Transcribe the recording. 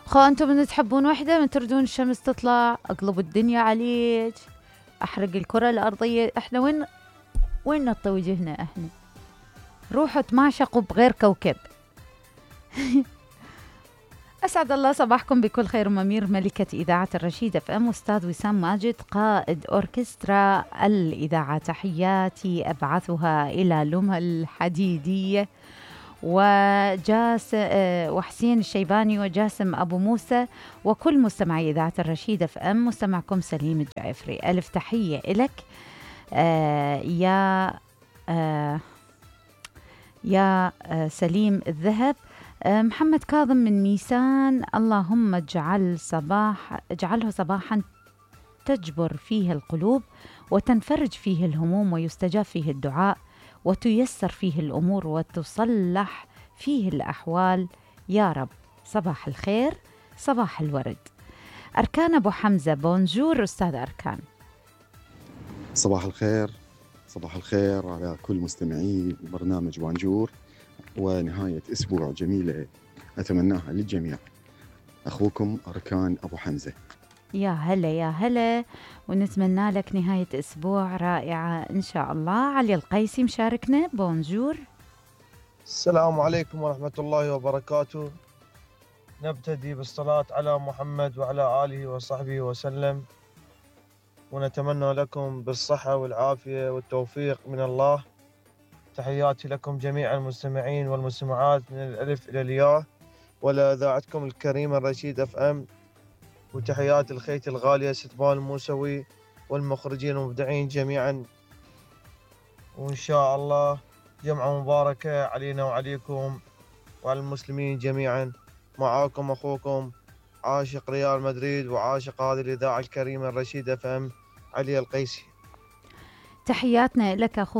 خو انتم من تحبون وحدة، من تردون الشمس تطلع اقلب الدنيا عليك، احرق الكرة الارضية. احنا وين نطي وجهنا احنا؟ روحوا تماشقوا بغير كوكب. أسعد الله صباحكم بكل خير. أمير ملكة إذاعة الرشيد اف ام، أستاذ وسام ماجد قائد أوركسترا الإذاعة، تحياتي أبعثها إلى لمى الحديدية وحسين الشيباني وجاسم أبو موسى وكل مستمعي إذاعة الرشيد اف ام. مستمعكم سليم الجعفري، ألف تحية إلك يا سليم الذهب. محمد كاظم من ميسان، اللهم اجعله صباحا تجبر فيه القلوب وتنفرج فيه الهموم ويستجاب فيه الدعاء وتيسر فيه الأمور وتصلح فيه الأحوال يا رب. صباح الخير، صباح الورد. أركان أبو حمزة، بونجور أستاذ أركان. صباح الخير، صباح الخير على كل مستمعي برنامج بونجور، ونهاية أسبوع جميلة أتمناها للجميع. أخوكم أركان أبو حمزة. يا هلا يا هلا، ونتمنى لك نهاية أسبوع رائعة إن شاء الله. علي القيسي مشاركنا، بونجور. السلام عليكم ورحمة الله وبركاته. نبتدي بالصلاة على محمد وعلى آله وصحبه وسلم، ونتمنى لكم بالصحة والعافية والتوفيق من الله. تحياتي لكم جميع المستمعين والمستمعات من الألف إلى الياء، ولإذاعتكم الكريمة الرشيد اف ام، وتحيات الخيت الغالية ستبان الموسوي والمخرجين المبدعين جميعا. وإن شاء الله جمعة مباركة علينا وعليكم وعلى المسلمين جميعا. معاكم أخوكم عاشق ريال مدريد وعاشق هذه الإذاعة الكريمة الرشيد اف ام، علي القيسي. تحياتنا لك أخونا